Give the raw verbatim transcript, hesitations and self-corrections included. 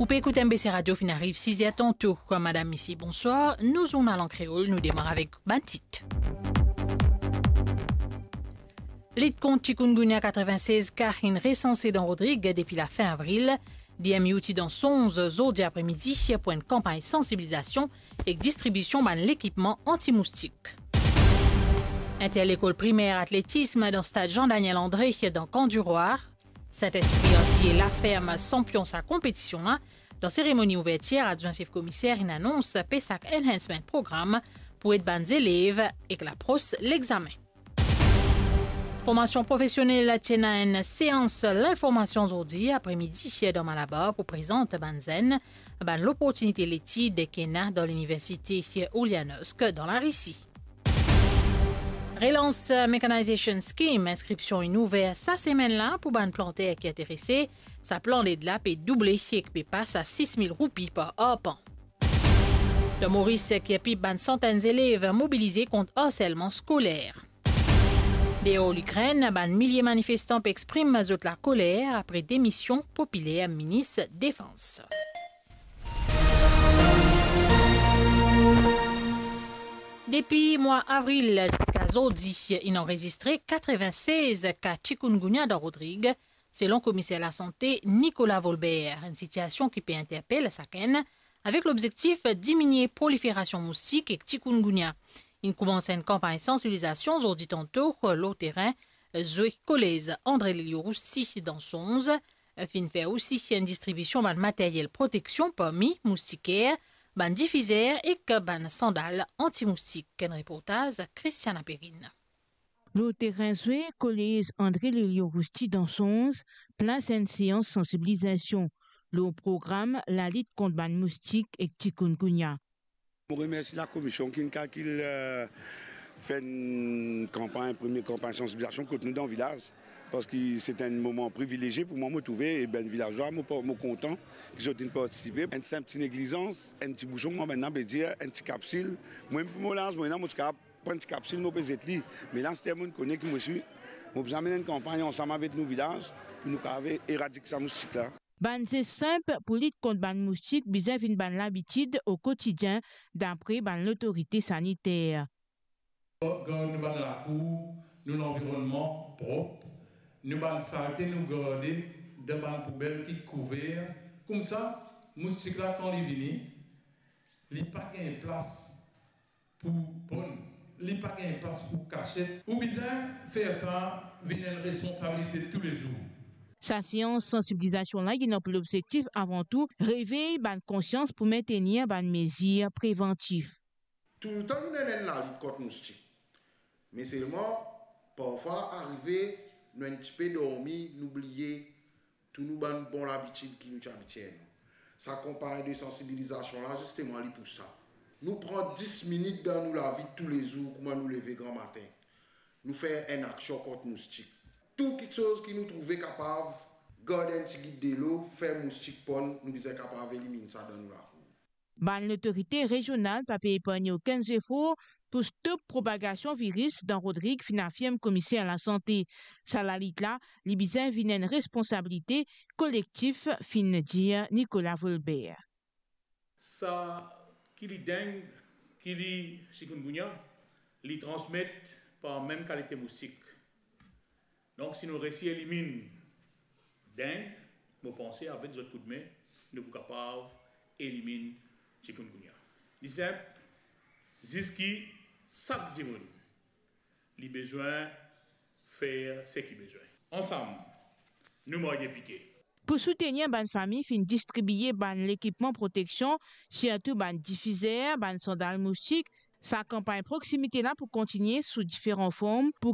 Ou pe ekout M B C Radio, finn ariv siz er tanto. Madam, misie, bonswar. Nou zournal an kreol, nou demar avek bann tit. Lit kont chikungunya, katrevinnsez ka inn resanse dan Rodrig depi lafin avril. D M U ti dan Sonz zordi apremidi pou enn kanpagn sansibilizasion ek distribision bann lekipman anti-moustik. Interlekol primer atletism dan stad Jean Daniel André dan Camp du Roi. Saint-Esprit asiye Laferm sanpion sa konpetision la. Dan seremoni ouvertir, adwin sef komiser inn anons PESAC Enhancement Program pou ed bann zelev ek lapros lexamen. Formasion profesionel ti ena enn seans linformasion zordi apremidi dan Malabar pou prezant bann zenn bann loportinite letid ki ena dan Liniversite Ulyanovsk dan Larisi. Relance Mechanization Scheme, inskripsion inn ouver sa semenn la pou bann planter ki interese. Sa plan led la pe double ek pe pas a sis mil roupi par arpan. Dan Moris, ki pli bann santenn zelev mobilize kont arselman skoler. Deor Likrenn, bann milie manifestan pe exprim zot lakoler apre demision popiler minis defans. Depi mwa avril ziska zordi, inn anrezistre katrevinnsez ka chikungunya dan Rodrig, selon komiser lasante Nicolas Volbert, enn sitiasion ki pe interpel sakenn, avek lobzektif diminie proliferasion moustik ek chikungunya. Inn koumans enn kanpagn sansibilizasion zordi tanto lor terin zwe kolez André Lelio Roussy dan Sonz, finn fer osi enn distribision bann materyel proteksion parmi moustiker, bann difizer ek bann sandal anti-moustik. Enn reportaz Christiana Perrine. Lor terin zwe kolez André Lelio Roussy dan Sonz, plas enn seans sansibilizasion lor program lalit kont bann moustik ek chikungunya. Mo remersi lakomision ki'nn kalkil, eh, fer enn kanpagn, premie kanpagn sansibilizasion kot nou dan vilaz, parski se enn moman privilezie pou mwa, mo trouve, e bann vilazwa, mo pa-, mo kontan ki zot inn partisipe. Enn sinp ti neglizans, enn ti bouson, kouma bann la pe dir, enn ti kapsil. Mwa, pou mo laz, mo ena, mo ti kapav pran ti kapsil, mo pe zet li. Me la, aster mo'nn kone ki mo swi, mo bizin amenn enn kanpagn ansam avek nou vilaz pou nou kapav eradik sa moustik la. Bann zes sinp pou lit kont bann moustik bizin vinn bann labitid o kotidien, dapre bann lotorite saniter. Gard nou bann lakour, nou lanvironnman prop, nou bann salte nou garde dan bann poubel ki kouver. Koumsa, moustik la, kan li vini, li pa gagn plas pou ponn, li pa gagn plas pou kasiet. Ou bizin fer sa vinn enn responsabilite toulezour. Sa seans sansibilizasion la, li ena pou lobzektif avan tou revey bann konsians pou mintenir bann mezir prevantif. Toultan nou ena enn lalit kont moustik. Me selman, parfwa arive, nou enn tipe dormi, nou bliye tou nou bann bon labitid ki nou ti abitie ena. Sa kanpagn de sansibilizasion la, zisteman, li pou sa. Nou pran dis minit dan nou lavi toulezour, kouma nou leve gramatin, nou fer enn aksion kont moustik. Tou kiksoz ki nou trouve kapav gard enn tigit delo, fer moustik ponn, nou bizin kapav eliminn sa dan nou lakour. Bann lotorite rezional pa pe epargne okenn zefor pou stop propagasion viris dan Rodrig, finn afirm komiser lasante. Sa lalit la, li bizin vinn enn responsabilite kolektif, finn dir Nicolas Volbert. Sa ki li deng, ki li chikungunya, li transmet par mem kalite moustik. Donk, si nou resi eliminn deng, mo panse avek zot koudme, nou pou kapav eliminn chikungunya. Li sinp, zis ki sak dimoun, li bizin fer seki bizin. Ansam, nou marye pike. Pou soutenir bann fami, finn distribie bann lekipman proteksion, sirtou bann difizer, bann sandal moustik. Sa kanpagn proksimite la pou kontinie sou diferan form pou